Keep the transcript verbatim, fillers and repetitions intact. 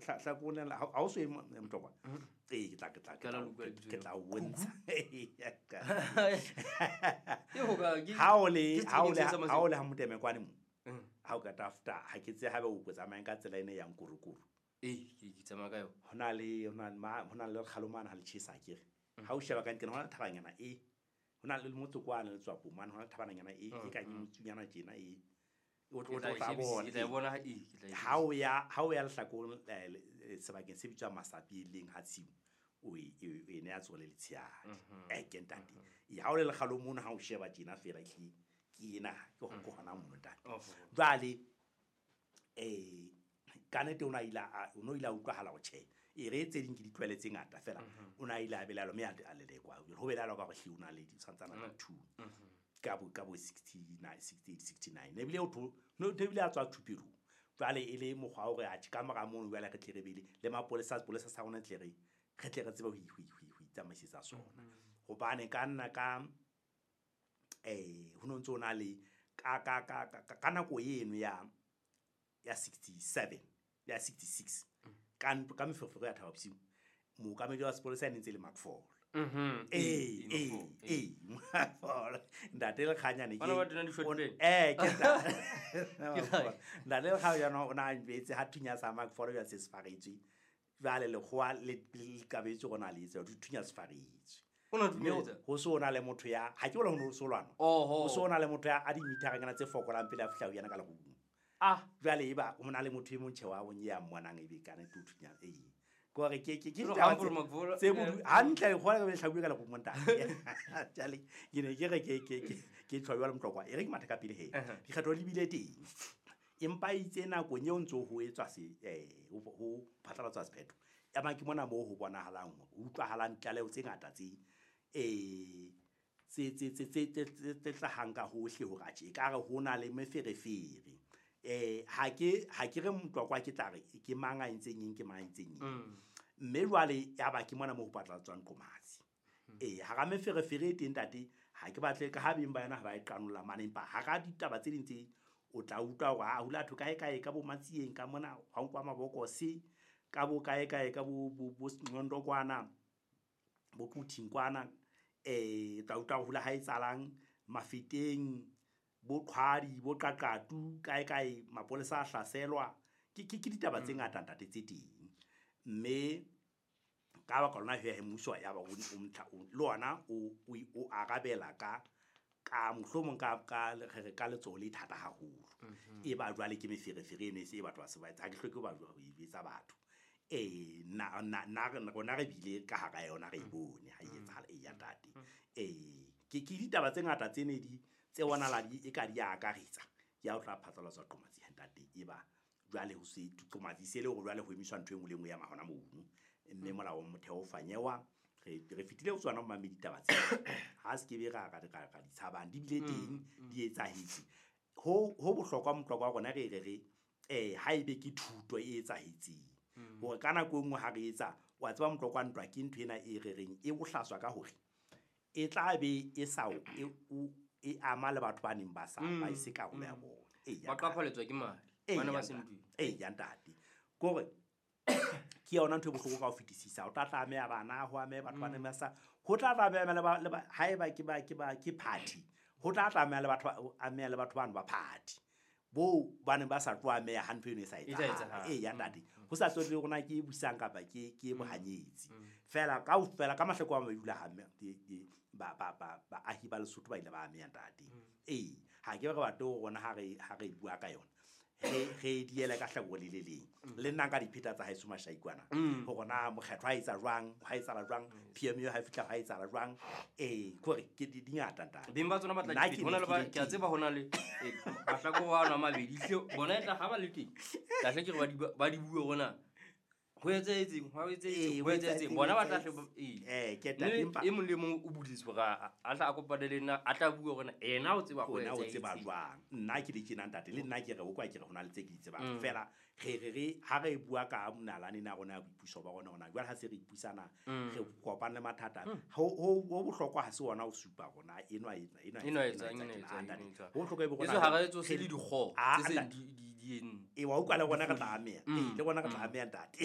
hlakoreng ha o so e Motlokwa. Ee, ke tla ke tla ke tla o bontsha. Ha o le ha o le ha o le ha Moteme kwane mo. Ha o ka tafta ha ke tse habe o tsamayang ka tsela ene yang Kurukuru. Ee, ke tsamaya ka yona. Ho na le ho na ho na le kgalomana ha le tjhesa akere. Ha o sheba ka ntle ho na le thabanyana e. Ho na le motse kwana le Tswapo mane ho na le thabananyana e e ka motsunyana tjena e. O tlo tla bona. Ke tla bona ha e ke tla. Ha o ya ha o ya lehlakoreng sebakeng se bitswang Masapi leng ha tshimo o e e ne ya tsole le tshiadi. Eh ke ntate. E ha o le lekgalong mono ha o sheba tjena fela ke ke ena ke ho hona mono ntate. Jwale eh ka nete o na ila o no ila utlwahala ho tjhe. E re tse ding ke ditlwaele tse ngata fela o na ile a belalo mme a lelekwa. Ho belalo ka hore hle o na le di tshwantsana le two. Ka bo ka bo sixty-nine, sixty-eight, sixty-nine. Ebile o tho no ebile a tswa thupelong. Jwale e le mokgwa wa hore a tjhe ka mora mono jwale re tle re bele le mapolesa sepolesa sa rona tle re re tle re tsebe ho ho itsamaisetsa sona. Hobane ka nna ka eh ho no ntso na le ka ka ka ka nako eno ya ya sixty-seven ya sixty-six ka ka meferefere ya Thaba Bosiu mookamedi wa sepolesa ne ntse le Macfall. Mhm. Eh eh eh Macfall ntate le khanyane ke eh ke ntate le khanyane o na ntse ha thunya sa Macfall ya se sefaretswe jwale lekgowa le kabetse rona le itse thunya sefaretswe o na thunyetsa ho so na le motho ya ha ke bona ho so lwana ho so na le motho ya a di meter ngana tse fokolang pele a fihla ho yana ka lerumo. Ah jwale eba o na le motho e mong tjhe wa bonye ya mmonang ebe kana ke thunya eh gore ke ke ke tse bodu hantle le khona le hlabuwe ka lerumo ntate. Jwale ke ne ke re ke ke ke tshwa jwale Motlokwa e re ke matha ka pele he dikgetho di bile teng empa itse nakong eo ntso ho etswa se eh ho phatlalatswa sephetho ya ba ke mona moo ho bonahalang ho utlwahalang tlaleho tse ngata tse eh tse tse tse tse tse hlahang ka hohle hore atjhe e ka re ho na le meferefere. Eh ha ke ha ke re Motlokwa ke tla re ke mang a entseng eng ke mang a entseng eng. Mme jwale ya ba ke mona moo ho phatlalatswang Qomatsi. Eh ha ra meferefere e teng ntate ha ke batle ka ha beng ba yona ha ba e qanolla mane empa ha ra ditaba tse ding tse o tla utlwa hore ha hula thwe kae kae ka bo Matsieng ka mona ha nkwa mabokose ka bo kae kae ka bo bo Nqondo kwana bo Quthing kwana eh tla utlwa hula ha etsalang Mafeteng bo Qhwadi bo Qaqatu kae kae mapolesa a hlaselwa ke ke ditaba tse ngata ntate tse teng mme ka ba ka lona he mmuso ya ba o mtla le ona o o arabela ka ka mohlomong ka ka re ka letsoho le thata haholo e ba jwale ke meferefere eno e se e batho ba se ba etsa ha ke hloke ba jwa ho etsa batho eh na na na rona re bile ka hara yona re bone ha e etsahala e ya ntate eh ke ke ditaba tse ngata tse ne di tse bonala di e ka di akaretsa ke ya o tla phatlalatswa Qomatsi ntate e ba jwale ho se Qomatsi se le hore jwale ho emiswa ntho e nngwe le nngwe ya mahona mono mme molao wa motheo o fanyewa re re fitile ho tswana mamedi ditaba tse ha se ke be ra ra ra di tshabang di bile teng di etsahetse ho ho bohlokwa Motlokwa wa rona re re re eh ha ebe ke thuto e etsahetseng hore ka nako e nngwe ha re etsa wa tseba Motlokwa ntwa ke ntho ena e re reng e bohlaswa ka hore e tla be e sa e e ama le batho ba neng ba sa ba ise karolo ya bona e ba qaphaletswa ke madi bana ba sentwe e ya ntate kore ke yona ntho e bohloko ka ho fetisisa o tla tlameha bana ho ame batho ba neng ba sa ho tla tlameha le ba haeba ke ba ke ba ke party ho tla tlameha le batho ba ameha le batho bano ba party bo ba neng ba sa tlo ameha ha ntho eno e sa etsahala e ya ntate ho sa tsotle rona ke busang kapa ke ke bohanyetsi fela ka ofela ka mahloko a mabedi ha ba ba ba baahi ba Lesotho ba ile ba ameha ntate ee ha ke re batho rona ha re ha re bua ka yona re re diela ka hlakore le le leng le nna ka dipheta tsa haeso Mashaikwana hore na mokgetho ha etsa jwang ha etsa jwang P M U ha fihla ha etsa jwang eh kore ke di ngata ntate beng ba tsona ba tla di hona le ba ke a tseba hona le mahlakore a ona mabedi hle bona e tla ha ba le teng tla hle ke re ba di ba di bue rona ho etsahetseng ho etsahetseng ho etsahetseng bona ba tla hle eh ke tla empa e mong le mong o buditswe hore a tla a kopane le nna a tla bua hore ena o tseba ho ena o tseba jwang nna ke le tjena ntate le nna ke re o kwa ke re hona le tse ke di tsebang fela re re re ha re bua ka nalane na rona ya boipuso ba rona hona jwale ha se re ipusana re kopane le mathata ho ho bohlokwa ha se ona o supa rona enwa enwa enwa enwa ntate ho bohlokwa e bo rona ha re tso se le dikgo tse seng di di e wa utlwa le rona re tla ameha le rona re tla ameha ntate.